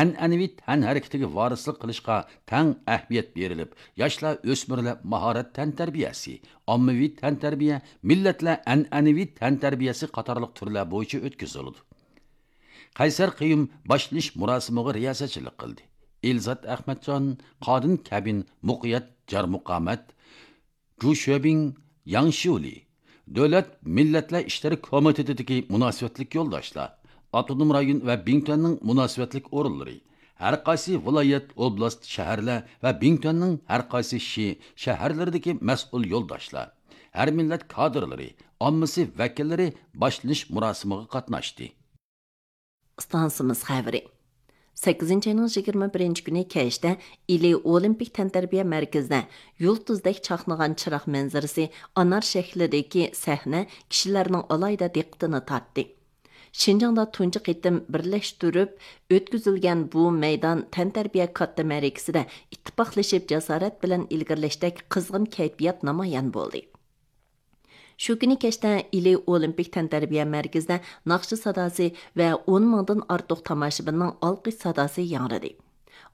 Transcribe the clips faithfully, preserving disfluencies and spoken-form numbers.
ئەنئەنىۋى تەنھەرىكىتىگە ۋارىسلىق قىلىشقا تەڭ ئەھمىيەت بېرىلىپ، ياشلار، ئۆسمۈرلەر ماھارەت تەنتەربىيەسى، ئاممىۋى تەنتەربىيە، مىللەتلەر ئەنئەنىۋى تەنتەربىيەسى قاتارلىق تۈرلەر بويىچە ئۆتكۈزۈلىدۇ. قەيسەر قېيۇم باشلىنىش مۇراسىمىغا رىياسەتچىلىك قىلدى. ئېلزات ئەخمەتجان، قادىن كەبىن، مۇقىيەت جارمۇقامەت، جۇ شۆبىڭ، ياڭ شيۇلى، دۆلەت مىللەتلەر ئىشلىرى كومىتېتىدىكى مۇناسىۋەتلىك يولداشلار، ئاپتونوم رايون ۋە بىڭتۈەننىڭ مۇناسىۋەتلىك ئورۇنلىرى، ھەر قايسى ۋىلايەت، ئوبلاست، شەھەرلەر ۋە بىڭتۈەننىڭ ھەر قايسى شى، شەھەرلىرىدىكى مەسئۇل يولداشلار، ھەر مىللەت كادىرلىرى، ئاممىسى ۋەكىللىرى باشلىنىش مۇراسىمىغا قاتناشتى. ئىستانسىمىز خەۋىرى. سەككىزىنچى ئاينىڭ يىگىرمە بىرىنچى كۈنى كەچتە ئىلى ئولىمپىك تەنتەربىيە مەركىزىدە يۇلتۇزدەك چاقنىغان چىراغ مەنزىرىسى ئانار شەكلىدىكى سەھنە كىشىلەرنىڭ ئالاھىدە دىققىتىنى تارتتى. شىنجاڭدا تۇنجى قېتىم بىرلەشتۈرۈپ ئۆتكۈزۈلگەن بۇ مەيدان تەنتەربىيە كاتتا مەرىكىسىدە ئىتتىپاقلىشىپ جاسارەت بىلەن ئىلگىرىلەشتەك قىزغىن كەيپىيات نامايان بولدى. شۇ كۈنى كەچتە ئىلى ئولىمپىك تەنتەربىيە مەركىزىدە ناخشا ساداسى ۋە ئون مىڭدىن ئارتۇق تاماشىبىننىڭ ئالقىش ساداسى ياڭرىدى.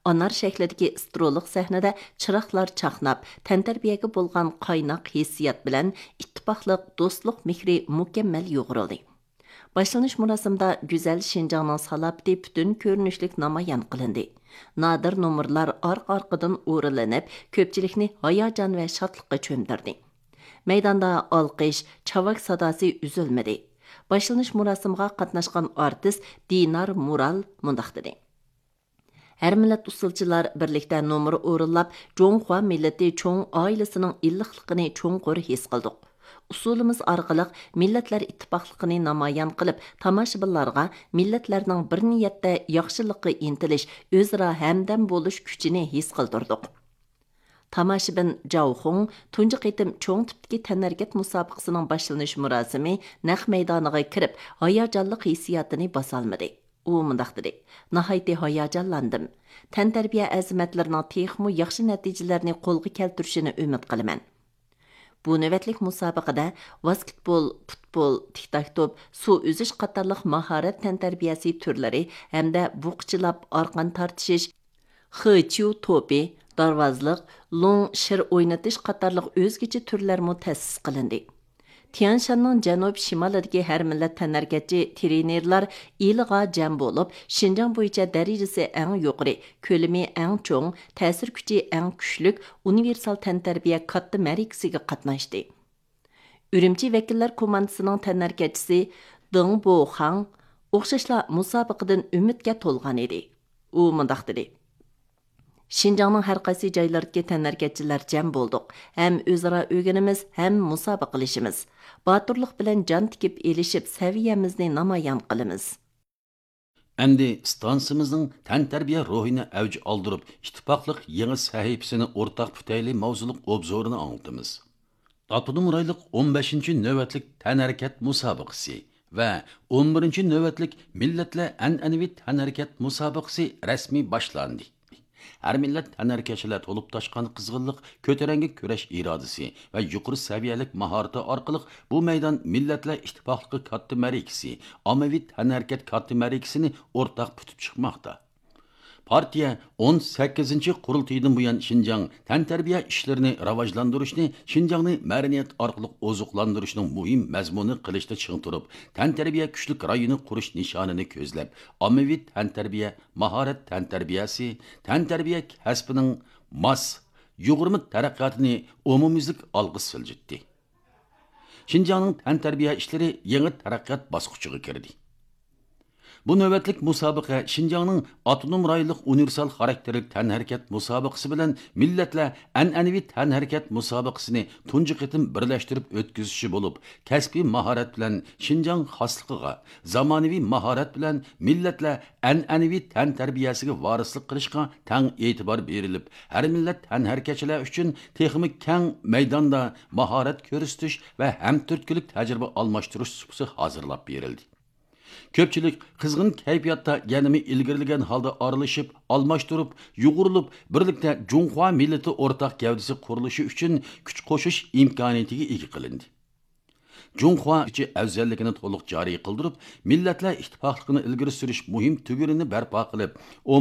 ئانار شەكلىدىكى ئىسترولۇق سەھنىدە چىراغلار چاقناپ، تەنتەربىيەگە بولغان قايناق ھېسسىيات بىلەن ئىتتىپاقلىق، دوستلۇق مېھرى مۇكەممەل يۇغۇرۇلدى. باشلىنىش مۇراسىمىدا گۈزەل شىنجاڭنىڭ سالاپىتى پۈتۈن كۆرۈنۈشلۈك نامايان قىلىندى. نادىر نومۇرلار ئارقا-ئارقىدىن ئورۇنلىنىپ، كۆپچىلىكنى ھاياجان ۋە شادلىققا چۆمدۈردى. مەيداندا ئالقىش، چاۋاك ساداسى ئۈزۈلمىدى. باشلىنىش مۇراسىمىغا قاتناشقان ئارتىس دىنار مۇرال مۇنداق دېدى: ھەر مىللەت ئۇسسۇلچىلار بىرلىكتە نومۇر ئورۇنلاپ، جۇڭخۇا مىللىتى چوڭ ئائىلىسىنىڭ ئىللىقلىقىنى چوڭقۇر ھېس قىلدۇق. ئۇسسۇلىمىز ئارقىلىق مىللەتلەر ئىتتىپاقلىقىنى نامايان قىلىپ، تاماشىبىنلارغا مىللەتلەرنىڭ بىر نىيەتتە ياخشىلىققا ئىنتىلىش، ئۆزئارا ھەمدەم بولۇش كۈچىنى ھېس قىلدۇردۇق. تاماشىبىن جاۋ خۇڭ تۇنجى قېتىم چوڭ تىپتىكى تەنھەرىكەت مۇسابىقىسىنىڭ باشلىنىش مۇراسىمى نەق مەيدانىغا كىرىپ، ھاياجانلىق ھېسسىياتىنى باسالمىدى. ئۇ مۇنداق دېدى: ناھايىتى ھاياجانلاندىم. تەنتەربىيە ئەزىمەتلىرىنىڭ تېخىمۇ ياخشى نەتىجىلەرنى قولغا كەلتۈرۈشىنى ئۈمىد قىلىمەن. بۇ نۆۋەتلىك مۇسابىقىدە ۋاسكېتبول، پۇتبول، تىك تاك توپ، سۇ ئۈزۈش قاتارلىق ماھارەت تەنتەربىيەسى تۈرلىرى ھەمدە بۇقىچىلاپ ئارقان تارتىشىش، خېچيۇ توپى، دارۋازلىق، لوڭ شىر ئوينىتىش قاتارلىق ئۆزگىچە تۈرلەرمۇ تەسىس قىلىندى. تيەنشاننىڭ جەنۇب شىمالىدىكى ھەر مىللەت تەنھەرىكەتچى ترېنېرلار ئىلىغا جەم بولۇپ، شىنجاڭ بويىچە دەرىجىسى ئەڭ يۇقىرى، كۆلىمى ئەڭ چوڭ، تەسىر كۈچى ئەڭ كۈچلۈك ئۇنىۋېرسال تەنتەربىيە كاتتا مەرىكىسىگە قاتناشتى. ئۈرۈمچى ۋەكىللەر كوماندىسىنىڭ تەنھەرىكەتچىسى دېڭ بوخاڭ ئوخشاشلا مۇسابىقىدىن ئۈمىدكە تولغان ئىدى. ئۇ مۇنداق دېدى: شىنجاڭنىڭ ھەر قايسى جايلىرىدىكى تەنھەرىكەتچىلەر جەم بولدۇق. ھەم ئۆزئارا ئۆگىنىمىز، ھەم مۇسابىقىلىشىمىز. باتۇرلۇق بىلەن جان تىكىپ ئېلىشىپ، سەۋىيەمىزنى نامايان قىلىمىز. ئەمدى ئىستانسىمىزنىڭ تەنتەربىيە روھىنى ئەۋج ئالدۇرۇپ، ئىتتىپاقلىق يېڭى سەھىپىسىنى ئورتاق پۈتەيلى ماۋزۇلۇق ئوبزورىنى ئاڭلىتىمىز. ئاپتونوم رايونلۇق ئون بەشىنچى نۆۋەتلىك تەنھەرىكەت مۇسابىقىسى ۋە ئون بىرىنچى نۆۋەتلىك مىللەتلەر ئەنئەنىۋى تەنھەرىكەت مۇسابىقىسى رەسمىي باشلاندى. ھەر مىللەت تەنھەرىكەتچىلەر تولۇپ تاشقان قىزغىنلىق، كۆتۈرەڭگۈ كۈرەش ئىرادىسى ۋە يۇقىرى سەۋىيەلىك ماھارىتى ئارقىلىق بۇ مەيدان مىللەتلەر ئىتتىپاقلىقى كاتتا مەرىكىسى، ئاممىۋى تەنھەرىكەت كاتتا مەرىكىسىنى ئورتاق پۈتۈپ چىقماقتا. پارتىيە ئون سەككىزىنچى قۇرۇلتىيىدىن بۇيان شىنجاڭ تەنتەربىيە ئىشلىرىنى راۋاجلاندۇرۇشنى، شىنجاڭنى مەدەنىيەت ئارقىلىق ئوزۇقلاندۇرۇشنىڭ مۇھىم مەزمۇنى قىلىشتا چىڭ تۇرۇپ، تەنتەربىيە كۈچلۈك رايونى قۇرۇش نىشانىنى كۆزلەپ، ئاممىۋى تەنتەربىيە، ماھارەت تەنتەربىيەسى، تەنتەربىيە كەسپىنىڭ ماس، يۇغۇرما تەرەققىياتىنى ئومۇميۈزلۈك ئالغا سىلجىتتى. شىنجاڭنىڭ تەنتەربىيە ئىشلىرى يېڭى تەرەققىيات باسقۇچىغا كىردى. بۇ نۆۋەتلىك مۇسابىقە شىنجاڭنىڭ ئاپتونوم رايونلۇق ئۇنىۋېرسال خاراكتېرلىك تەنھەرىكەت مۇسابىقىسى بىلەن مىللەتلەر ئەنئەنىۋى تەنھەرىكەت مۇسابىقىسىنى تۇنجى قېتىم بىرلەشتۈرۈپ ئۆتكۈزۈشى بولۇپ، كەسپىي ماھارەت بىلەن شىنجاڭ خاسلىقىغا، زامانىۋى ماھارەت بىلەن مىللەتلەر ئەنئەنىۋى تەنتەربىيەسىگە ۋارىسلىق قىلىشقا تەڭ ئېتىبار بېرىلىپ، ھەر مىللەت تەنھەرىكەتچىلەر ئۈچۈن تېخىمۇ كەڭ مەيداندا ماھارەت كۆرسىتىش ۋە ھەمتۈرتكىلىك تەجرىبە ئالماشتۇرۇش سۇپىسى ھازىرلاپ بېرىلدى. كۆپچىلىك قىزغىن كەيپىياتتا يەنىمۇ ئىلگىرىلىگەن ھالدا ئارىلىشىپ، ئالماشتۇرۇپ، يۇغۇرۇلۇپ، بىرلىكتە جۇڭخۇا مىللىتى ئورتاق گەۋدىسى قۇرۇلۇشى ئۈچۈن كۈچ قوشۇش ئىمكانىيىتىگە ئىگە قىلىندى. جۇڭخۇا ئىچى ئەۋزەللىكىنى تولۇق جارى قىلدۇرۇپ، مىللەتلەر ئىتتىپاقلىقىنى ئىلگىرى سۈرۈش مۇھىم تۈگۈنىنى بەرپا قىلىپ، ئومۇميۈزلۈك